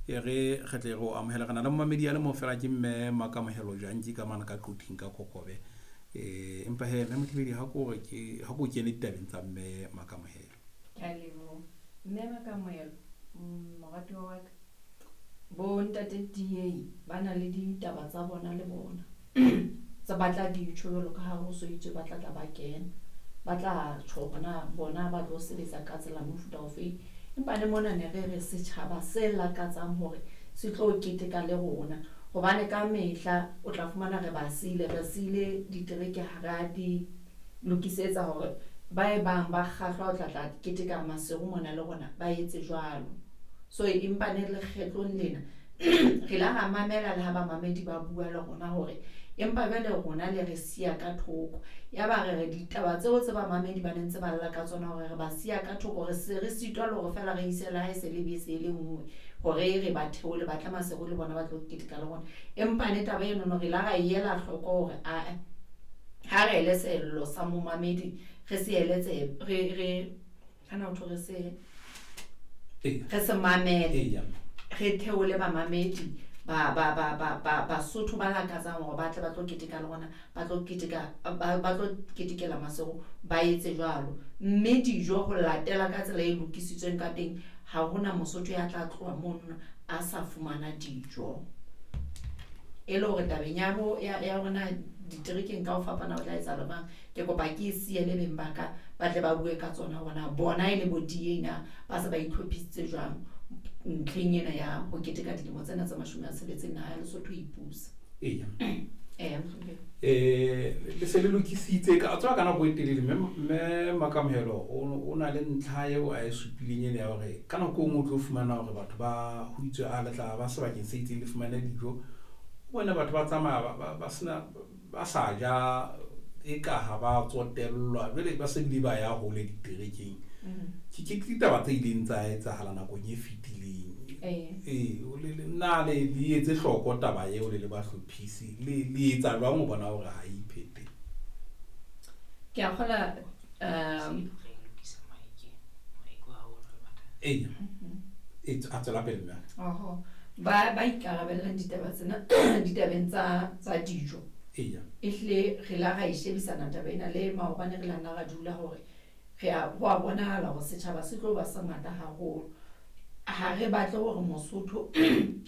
E re re tle re o amohele. Re na le momamedi a le mong fela ke mme Makamohelo Janki ka mane ka Quthing ka Kokobe. Empa he mme Mothibedi ha ko re ke ha ko kene ditabeng tsa mme Makamohelo. Ke a leboha. Mme Makamohelo, moratuwa wa ka, bo ntate DA ba na le ditaba tsa bona le bona. Tse ba tla di tjho jwalo ka ha ho so itswe ba tla tla ba kena. Ba tla tjho hore na bona ba tlo sebetsa ka tsela mofuta ofe. Empa le mona ne re re setjhaba se lakatsang hore se tlo keteka le rona. Hobane ka mehla o tla fumana re ba siile, re siile ditereke ha re a di lokisetsa hore ba e bang ba kgahlwa ho tla tla keteka Maseru mona le rona ba etse jwalo. So empa ne lekgetlong lena re la ra mamela le ha bamamedi ba bua le rona hore empa jwale rona le re siya ka thoko. Ya ba re re ditaba tseo tse bamamedi ba ne ntse ba lla ka tsona hore re ba siya ka thoko, re se re sitwa le hore feela re ise le ha e se le bese e le nngwe hore re ba theole ba tle Maseru le bona ba tlo keteka le rona. Empa ne taba enono re la ra e ela hloko hore ae ha re ele sello sa momamedi re se ele tsebe re kana ho thwe re se re se mamele re theole bamamedi ba ba ba ba ba Basotho ba lakatsang hore ba tle ba tlo keteka le rona ba tlo keteka ba tlo ketekela Maseru ba etse jwalo. Mme dijo ho latela ka tsela e lokisitsweng ka teng ha hona Mosotho ya tla tloha mono a sa fumana dijo. E le hore tabeng ya bo ya ya rona diterekeng ka ho fapana ho tla etsahala jwang. Ke kopa ke e siele beng ba ka ba tle ba bue ka tsona hore na bona e le bo DA na ba se ba itlhophisitse jwang ntlheng ena ya ho keteka dilemo tsena tse 60 naha ya Lesotho e ipusa. Eya. Eya, mohlomphehi. Le se le lokisitse ka tswa ka nako e telele mme mme Makamohelo o na le ntlha eo a e supileng ene ya hore ka nako e nngwe o tlo fumana hore batho ba ho itswe a le tla ba sebakeng se itseng le fumane dijo. O bone batho ba tsamaya ba sena ba sa ja e ka ha ba tsotellwa jwale ba se bile ba ya hole diterekeng. Ke ditaba tse ileng tsa etsahala nakong e fetileng. Ee, na le le etse hloko taba eo le le bahlophisi le le etsa jwang ho bona hore ha e iphete? Ke a kgola Eya. E a tswela pele mme. Oho. Ba ikarabellang ditaba tsena ditabeng tsa dijo. Eya. Ehlile re la ra e shebisana taba ena le maobane re la nna ra dula hore re a ho a bonahala hore setjhaba se tlo ba se ngata haholo. Ha re batle hore Mosotho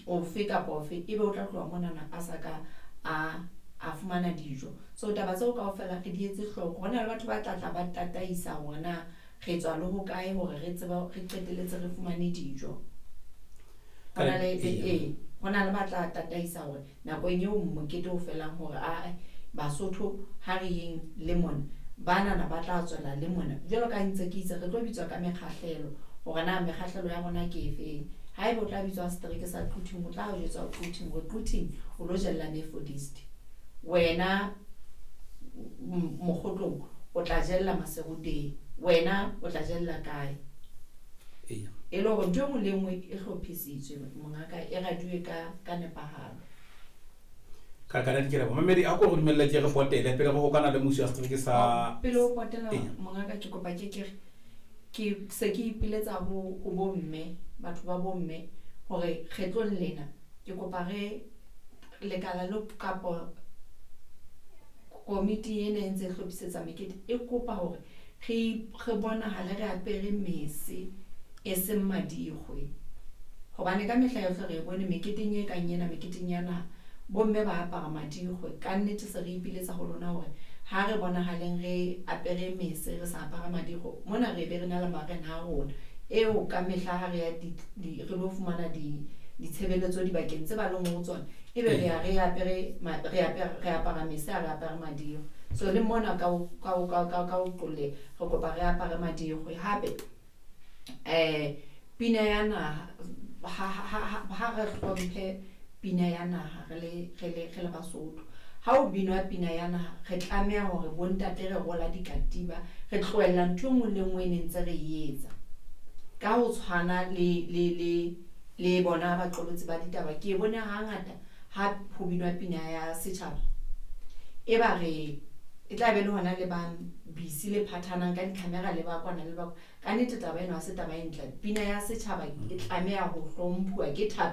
ofe kapa ofe ebe o tla tloha monana a sa ka a fumana dijo. So taba tseo kaofela re di etse hloko. Ho na le batho ba tla tla ba tataisa hore na re tswa le hokae hore re tsebe re qetelletse re fumane dijo. Ho na le ee, ho na le ba tla tataisa hore nakong eo mokete o felang hore ae Basotho ha re yeng le mona banana ba tla tswela le mona. Jwalo ka ntse ke itse re tlo bitswa ka mekgahlelo hore na mekgahlelo ya rona ke efeng. Haeba o tla bitswa setereke sa Quthing, o tla jwetswa Quthing hore Quthing o lo jella Methodist. Wena Mokgotlong o tla jella Maseru teng. Wena o tla jella kae? Eya. E le hore ntho e nngwe le nngwe e hlophisitswe mongaka e raduwe ka nepahalo. Ka ka ke leboha. Mamedi a ko re dumelle ke re potele pele re hokana le musi wa setereke sa Pele o potela mongaka ke kopa ke ke re ke se ke ipiletsa ho bomme, batho ba bomme hore kgetlong lena ke kopa re lekala le kapo komiti ena e ntse e hlophisetsa mekete e kopa hore re bonahale re apere mese e seng madikgwe. Hobane ka mehla yohle re bone meketeng e kang ena, meketeng ya naha, bomme ba apara madikgwe. Ka nnete se re ipiletsa ho lona hore ha re bonahaleng re apere mese re sa apara madikgwe. Mona re be re na le marena a rona eo ka mehla ha re ya re lo fumana ditshebeletso dibakeng tse ba leng ho tsona, ebe re ya re apere re apara mese ha re apare madikgwe. So le mona ka ho qolle re kopa re apare madikgwe. Hape pina ya naha ha re hlomphe pina ya naha re le Basotho. Ha o binwa pina ya naha re tlameha hore bontate re rola dikatiba, re tlohella ntho e nngwe le nngwe e ne ntse re e etsa. Ka ho tshwana le bona baqolotsi ba ditaba, ke bone hangata ha ho binwa pina ya setjhaba e ba re e tla be le hona le ba busy le phathanang ka di-camera le ba kwana le ba. Ka nnete taba ena ha se taba e ntle. Pina ya setjhaba e tlameha ho hlomphuwa ke thapelo.